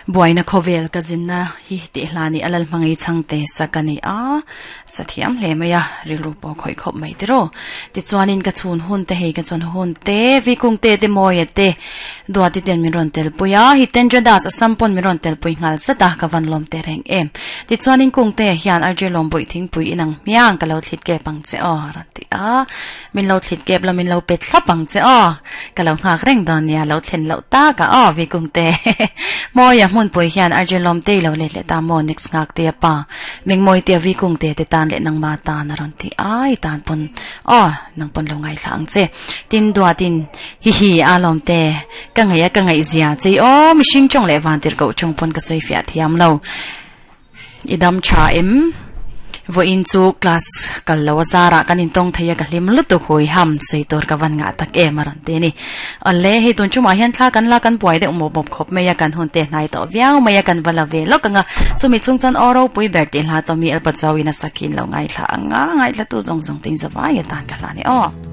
Buaina khawvel ka zinna hi tih hla nih a lal hmangei chhangte sak a ni a, sa thiam hle mai a, rilru pawh khawih khawp mai tiraw. Tichuanin ka chhun hun te hei ka chhawn hun te, Vikung te te Mawia te Duati ten min rawn telpui a, Hitendra Das Assam pawn min rawn telpui nghal zat a, ka van lawm teh reng em. Tichuanin Kungte hian RJ Lawmbuih thingpui inang hmiang ka lo thlit kep ang che aw a rawn ti a. Min lo thlit kep la min lo pe thlap ang che aw. Ka lo nghak reng dawn nia lo thlen loh tak a aw Vikungte. Mawia hmunpui hian RJ Lawmtei lo let leh ta maw next nghak te a pa. Mengmawi tia Vikungte te tan leh nangma tan a rawn ti a i tan pawn aw nang pawn lo ngaithla ang che. Tin duatin hi hi a Lawmte ka ngaih a ka ngaihzia che i aw mihring tawng leh vantirhkoh tawng pawn ka sawi fiah thiam lo. I dam tha em? Vawiin chu class kal lo a zarah kan intawng thei a ka hlim lutuk hui ham sawi tur ka van ngah tak em a rawn ti a ni. Awle hei tun chumah hian thla kan la kan buai deuh mawp mawp khawp mai a kan hun te hnai tawh viau mai a kan va la ve lawk ang a chumi chhung chuan aw ropui ber tih hla tawh mi Alpa Chauin a sakin lo ngaithla ang a ngaithla tu zawng zawng te in zavai atan ka hla a ni aw.